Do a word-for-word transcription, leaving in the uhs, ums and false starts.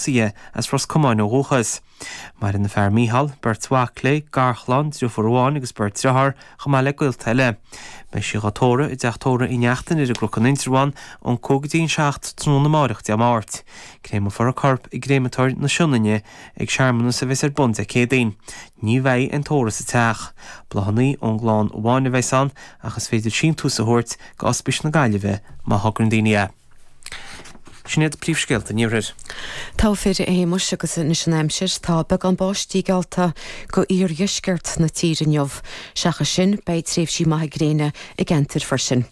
tosaithe as Ros Comáin ó dhúchas. Maireann a fear Mícheál, beirt mhac léi, garchlann, deirfiúr amháin agus beirt dearthár, chomh maith le gaolta eile. Beidh sí á tórramh i dteach tórraimh Uí Neachtain ar an gCnoc in Indreabhán ón cúig go dtí an seacht tráthnóna amárach Dé Máirt. Créamfar a corp i gcréamatóir na Sionainne ag searmanas a bheas ar bun Dé Céadaoin. Ní bheidh aon tórramh sa teach. Bláthanna ón gclann amháin a bheas ann ach is féidir síntiús a thabhairt go Ospís na Gaillimhe má thograíonn daoine é. Sin iad príomhscéalta an iarthair. Tá fir éimeis agus anois an aimsir tá beagán báistí geallta go iardheisceart na tíre inniu. Seachas sin beidh tréimhsí maithe gréine i gceantar freisin.